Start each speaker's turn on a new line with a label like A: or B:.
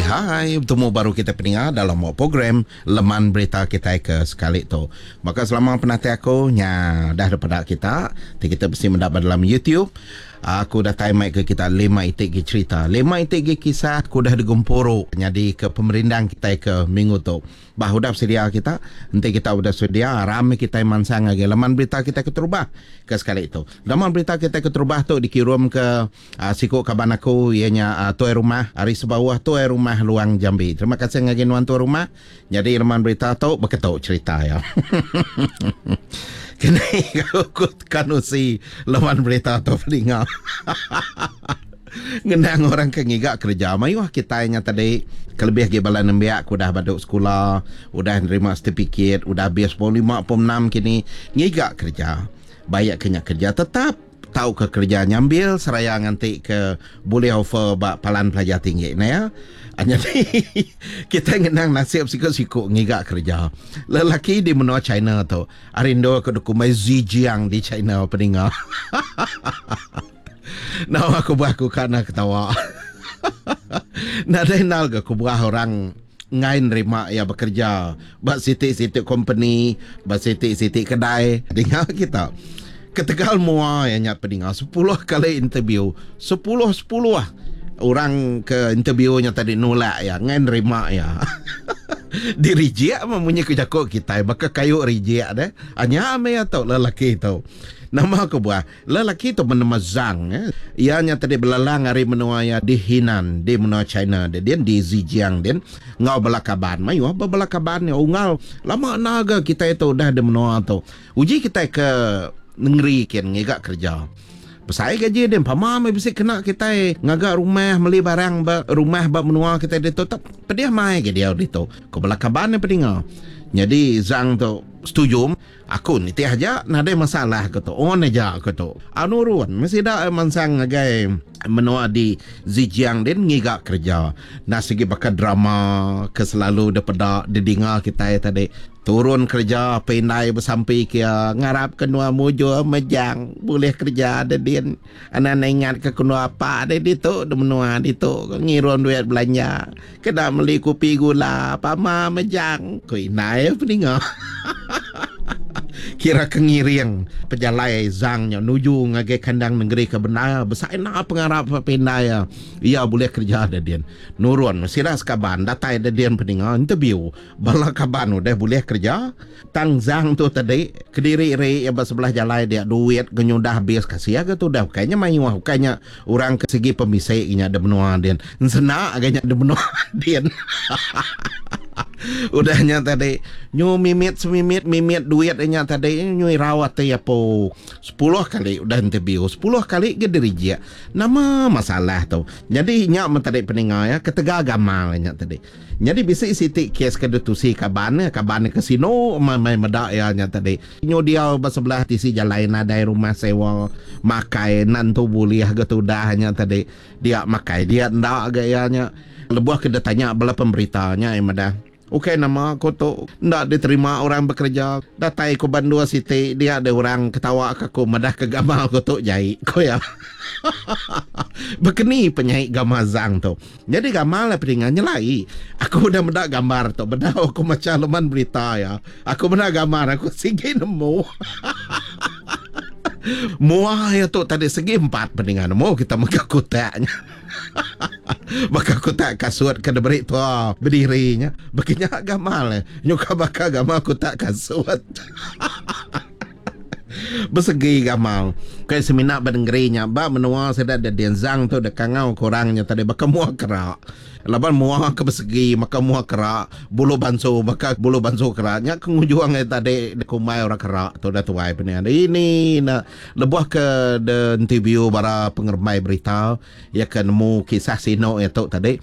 A: Oi hai, betemu baru kita peninga dalam program Leman Berita kitai ke sekali tu. Baka selama penatai aku nya dah daripada kita, ti kita bisi meda ba dalam YouTube. Aku datai mai ke kita lima iti gi cherita, lima iti gi kisah ke udah digempuru nyadi ke pemerindang kitai ke minggu tu. Bah udah besedia kita? Enti kita udah sedia, aram meh kitai mansang ngagai laman berita kitai keterubah ke sekali tu. Laman berita kitai keterubah tu dikirum ke siku kaban aku iya nya tuai rumah ari Sebauh, Tuai Rumah Luang Jambi. Terima kasih ngagai nuan tuai rumah. Nyadi laman berita tu beketu cherita iya. Kini ku kanusi laman berita tu peninga. Ngenang orang ke ngiga kereja mayuh kitai nya tadi kelebih agi bala nembiak ke udah badu sekula, udah nerima setipikit, udah habis pom lima pom enam kini ngiga kereja. Baik ke nya kereja tetap tauka kereja nyambil seraya nganti ke bulih offer ba palan pelajar tinggi ne ya. Nyadi kitai ngenang nasib siku-siku ngiga kereja. Lelaki di menua China tu ari endur ke dikumbai Zhejiang di China peninga. Nama kebuah aku ka enda ketawa. Nadai endal ga kebuah orang enggai nerima iya bekereja ba siti-siti kompeni, ba siti-siti kedai. Dinga kita. Ketegal mua iya nya pedinga sepuluh kali interview, sepuluh-sepuluh orang ke interview nya tadi nulak iya, enggai nerima iya. Dirijik meh munyi ku jaku kitai baka kayu rijik deh. Nya meh iya tu lelaki tu. Nama kebuah? Lelaki tu benama Zhang. Iya nya tadi belelang ari menua iya di Henan, di menua China dia din, di Zhejiang din, enggau bala kaban. Mayuh ba bala kaban iya unggal. Lama enda ga kitai tu udah di menua tu. Uji kitai ke nengeri kin ngiga kereja. Besai gaji din pama meh bisi kena kitai ngaga rumah, meli barang ba rumah ba menua kitai ditu. Tak pedih mai ga diau ditu, ku bala kaban iya pedinga. Nyadi Zhang tu setuju. Aku nitih aja nadai masalah aku tu. On aja aku tu. Au nurun meh sida mansang ngagai menua di Zhejiang din ngiga kereja. Enda sigi baka drama ke selalu dipeda didinga kitai tadi. Turun kereja apai indai besampi ke iya ngarap ke nuan mujur mejang bulih kereja de din. Anang ingat ke kenu apa deh ditu de menua ditu ngirum duit belanja kena meli kupi gula pama mejang ku indai peninga. Kira ke ngiring pejalai Zhang nya nuju ngagai kandang nengeri ke bendar besai enda pengarap pindai iya iya bulih kereja de din. Nurun sida sekaban datai de din peninga interview bala kaban udah bulih kereja. Tang Zhang tu tadi, kediri ri iya ba sebelah jalai dia duit ke nyudah abis kasih ga tudah ukai nya mayuh ukai nya orang ke sigi pemisi nya da menua din ensena ga nya da menua din. Udah nya tadi nyu mimit semimit mimit duit nya tadi nyu irau ati apu sepuluh kali udah interview sepuluh kali ga dirijik nama masalah tu. Nyadi nya meh tadi peninga iya ketegal gamal nya tadi. Nyadi bisi siti kes ke ditusi kaban iya, kaban iya ke sinu meh meda iya nya tadi. Nyu diau ba sebelah tisi jalai nadai rumah sewa, makai enda entu bulih ga tudah nya tadi. Dia makai dia enda ga iya nya. Lebuh ke ditanya bala pemberita nya iya madah, Ukai nama ku tu enda diterima orang bekereja. Datai ku ba endur siti dia deh orang ketawa ka aku madah ke gamal ku tu jai, ku iya. Bekeni penyai gamal Zang tu. Nyadi gamal iya pedinga nyelai. Aku udah meda gambar tu bedau aku macha leman berita iya. Aku meda gambar aku sigi nemu. Mua iya tu tadi segi empat pedinga nemu kita mega kutak nya. Baka kutak kasut ke diberi tua bediri nya. Baka nya gamal iya. Nyuka baka gamal kutak kasut. Besegi gamal. Kai semina ba nengeri nya ba menua sida da Denzang tu da kangau ke orang nya tadi baka mua kera. Laban mua ke besegi maka mua kera, bulu bansu baka bulu bansu kera nya ke ngujung iya tadi dikumbai orang kera tu da tuai penia. Ini ne lebuh ke de interview bara pengerembai berita iya ke nemu kisah sinu iya tu tadi.